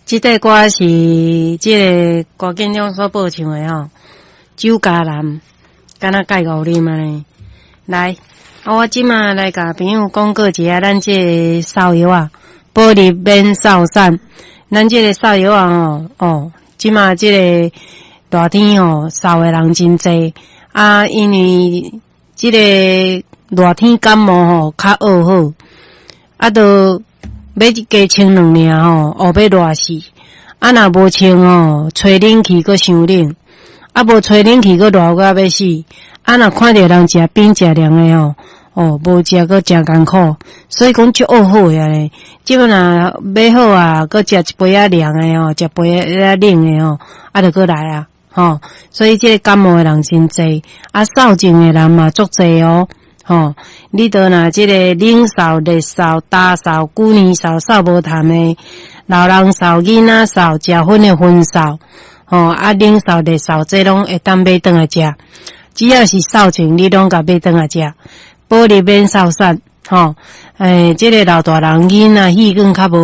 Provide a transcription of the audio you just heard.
這塊歌是這个歌建中所播唱的吼，酒家男，敢若蓋五啉按呢。來，啊，我這馬來共朋友廣告一下，咱這个瘦藥仔，保入免瘦散。咱這个瘦藥仔吼，哦，這馬這个熱天吼，瘦的人真濟啊，因為這个熱天感冒吼較惡好，啊，都欲加穿兩領吼，哦，欲熱死。啊，若無穿吼，吹冷氣閣傷冷，啊，無吹冷氣閣熱甲欲死。啊，若看著人食冰食涼的吼，哦，無食閣誠艱苦，所以講足惡好的按呢。這馬若買好啊，閣食一杯仔涼的吼，食杯仔冷的吼，啊，就閣來啊，吼。所以這个感冒的人真濟，啊，瘦症的人嘛足濟哦，吼。你著若這个冷瘦、熱瘦、焦瘦、久年瘦、瘦無痰的，老人瘦、囡仔瘦、食薰的薰瘦，吼，啊，冷瘦、熱瘦，這攏會當買轉來食。只要是瘦症，你攏共買轉來食，保入免瘦散，吼。欸，這个老大人囡仔氣管較無。